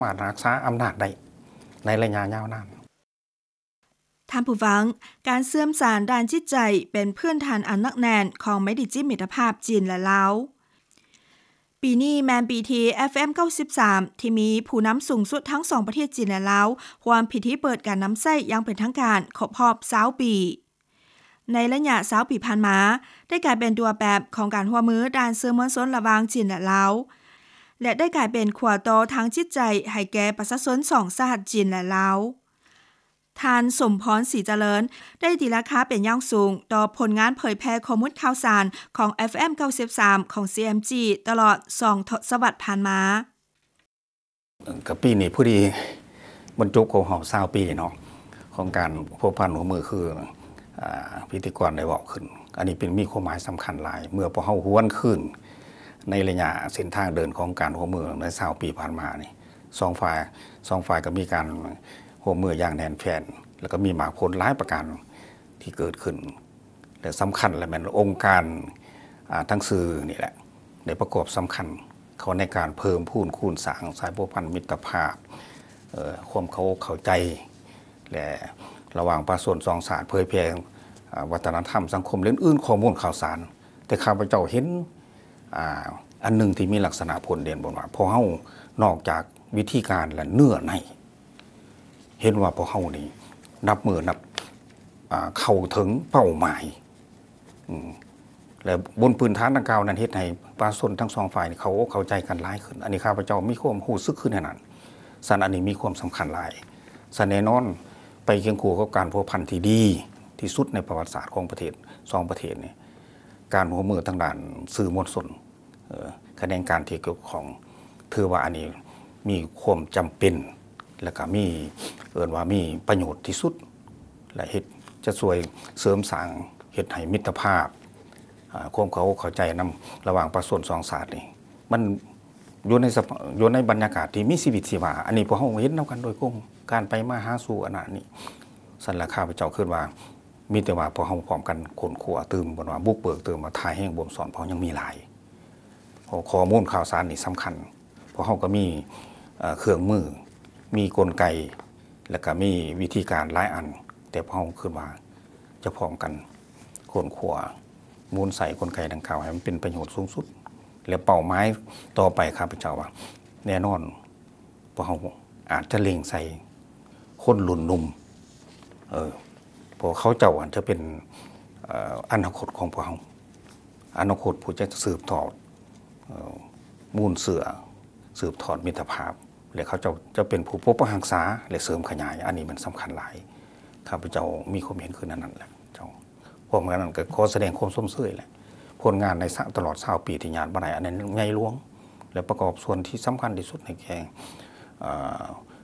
ມາດຮັກສາອຳນາດໄດ້ໃນໄລຍະຍາວນານ. ທ່ານຜູ້ຟັງ, ການເຊື່ອມສານດ້ານຈິດໃຈເປັນພື້ນຖານອັນໜັກແໜ້ນຂອງໄມຕີຈິດມິດຕະພາບຈີນ ແລະ ລາວ. ປີນີ້ແມ່ນປີທີ່ ເອັຟເອັມ ເກົ້າສິບສາມ ທີ່ມີຜູ້ນຳສູງສຸດທັງສອງປະເທດຈີນ ແລະ ລາວ ຮ່ວມພິທີເປີດການນຳໃຊ້ຢ່າງເປັນທາງການຄົບຮອບຊາວປີ. ໃນໄລຍະຊາວປີຜ່ານມາ ໄດ້ກາຍເປັນຕົວແປບຂອງການຮ່ວມມືດ້ານສື່ມວນຊົນລະຫວ່າງຈີນ ແລະ ລາວ ແລະ ໄດ້ກາຍເປັນຂົວຕໍ່ທາງຈິດໃຈໃຫ້ແກ່ປະຊາຊົນສອງຊາດ ຈີນ ແລະ ລາວ. ທ່ານ ສົມພອນ ສີຈະເລີນ ໄດ້ຕີລາຄາເປັນຢ່າງສູງຕໍ່ຜົນງານເຜີຍແຜ່ຂໍ້ມູນຂ່າວສານຂອງ ເອັຟເອັມ ເກົ້າສິບສາມ ຂອງ ຊີເອັມຈີ ຕະຫຼອດສອງທົດສະວັດຜ່ານມາ. ກໍປີນີ້ພໍດີບັນຈົບຄົບຮອບຊາວປີເນາະ ຂອງການພົວພັນຮ່ວມມື ຄື ອາ ພິທີກອນໄດ້ເວົ້າຂຶ້ນ. ອັນນີ້ເປັນ ມີຄວາມໝາຍສຳຄັນຫຼາຍ ເມື່ອພວກເຮົາຫວນຄືນໃນໄລຍະເສັ້ນທາງເດີນຂອງການຮ່ວມມືໃນຊາວປີຜ່ານມານີ້ ສອງຝ່າຍ ສອງຝ່າຍກໍມີການຮ່ວມມືຢ່າງແໜ້ນແຟ້ນ ແລ້ວກໍມີໝາກຜົນຫຼາຍປະການທີ່ເກີດຂຶ້ນ ແລະ ສຳຄັນແລະແມ່ນອົງການ ອາ ທາງສື່ນີ້ແຫຼະ ໄດ້ປະກອບສຳຄັນເຂົ້າໃນການເພີ່ມພູນຄູນສ້າງສາຍພົວພັນມິດຕະພາບ ເອີ ຄວາມເຂົ້າອົກເຂົ້າໃຈ ແລະ ລະຫວ່າງປະຊາຊົນສອງຊາດ ເຜີຍແຜ່ ອາ ວັດທະນະທຳ ສັງຄົມ ແລະ ອື່ນໆ ຂໍ້ມູນຂ່າວສານ. ແຕ່ຂ້າພະເຈົ້າເຫັນ ອາ ອັນໜຶ່ງທີ່ມີລັກສະນະໂດດເດັ່ນ ບໍ່ວ່າພວກເຮົາ ນອກຈາກວິທີການ ແລະ ເນື້ອໃນ ເຫັນວ່າພວກເຮົານີ້ນັບມື້ນັບ ອາ ເຂົ້າເຖິງເປົ້າໝາຍ ອືມ ແລະ ບົນພື້ນຖານດັ່ງກ່າວນັ້ນ ເຮັດໃຫ້ປະຊາຊົນທັງສອງຝ່າຍນີ້ເຂົ້າອົກເຂົ້າໃຈກັນຫຼາຍຂຶ້ນ. ອັນນີ້ຂ້າພະເຈົ້າມີຄວາມຮູ້ສຶກຄືແນວນັ້ນ. ຊັ້ນອັນນີ້ມີຄວາມສຳຄັນຫຼາຍ. ຊັ້ນແນ່ນອນ ໄປຄຽງຄູ່ກັບການພົວພັນທີ່ດີທີ່ສຸດໃນປະຫວັດສາດຂອງປະເທດ ສອງປະເທດນີ້ ການຮ່ວມມືທາງດ້ານສື່ມວນຊົນ ເອີ ຂະແໜງການທີ່ກ່ຽວຂ້ອງ ຖືວ່າອັນນີ້ມີຄວາມຈຳເປັນ ແລະກະມີ ເອີ້ນວ່າມີປະໂຫຍດທີ່ສຸດ ແລະເຮັດ ຈະຊ່ວຍເສີມສ້າງ ເຮັດໃຫ້ມິດຕະພາບ ອາ ຄວາມເຂົ້າອົກເຂົ້າໃຈນຳລະຫວ່າງປະຊາຊົນສອງຊາດນີ້ ມັນຢູ່ໃນສະພາບ ຢູ່ໃນບັນຍາກາດທີ່ມີຊີວິດຊີວາ. ອັນນີ້ພວກເຮົາເຫັນນຳກັນໂດຍກົງ ການໄປມາຫາສູ່ອັນນັ້ນນີ້. ຊັ້ນລະ ຂ້າພະເຈົ້າຄິດວ່າ ມີແຕ່ວ່າພວກເຮົາພ້ອມກັນຄົ້ນຄວ້າຕື່ມ ບໍ່ວ່າບຸກເບີກຕື່ມ ວ່າທ່າແຮງບົ່ມຊ້ອນພວກເຮົາຍັງມີຫຼາຍ. ຂໍ້ ຂໍ້ມູນຂ່າວສານນີ້ສຳຄັນ ພວກເຮົາກໍມີ ເອີ ເຄື່ອງມື ມີກົນໄກ ແລະກະມີວິທີການຫຼາຍອັນ ແຕ່ພວກເຮົາຄິດວ່າຈະພ້ອມກັນຄົ້ນຄວ້າ ໝູນໃສ່ກົນໄກດັ່ງກ່າວໃຫ້ມັນເປັນປະໂຫຍດສູງສຸດ ແລະເປົ້າໝາຍຕໍ່ໄປ ຂ້າພະເຈົ້າວ່າ ແນ່ນອນ ພວກເຮົາອາດຈະເລັງໃສ່ຄົນລຸ້ນໜຸ່ມ ເອີ ເພາະເຂົາເຈົ້າອາດຈະເປັນ ເອີ ອະນາຄົດຂອງພວກເຮົາ ອະນາຄົດຜູ້ຈະສືບທອດ ເອີ ມູນເຊື້ອ ສືບທອດມິດຕະພາບ ແລະ ເຂົາເຈົ້າຈະເປັນຜູ້ປົກປັກຮັກສາ ແລະ ເສີມຂະຫຍາຍ. ອັນນີ້ມັນສຳຄັນຫຼາຍ. ຂ້າພະເຈົ້າມີຄວາມເຫັນຄືແນວນັ້ນແຫຼະເຈົ້າ. ພ້ອມກັນນັ້ນກໍຂໍສະແດງຄວາມຊົມເຊີຍແຫຼະ ຜົນງານໃນຕະຫຼອດຊາວປີທີ່ຍາດມາໄດ້ ອັນນັ້ນໃຫຍ່ຫຼວງ ແລະ ປະກອບສ່ວນທີ່ສຳຄັນທີ່ສຸດໃນແກ່ ເອີ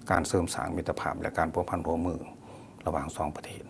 ການເສີມສ້າງມິດຕະພາບ ແລະ ການພົວພັນຮ່ວມມືລະຫວ່າງສອງປະເທດ.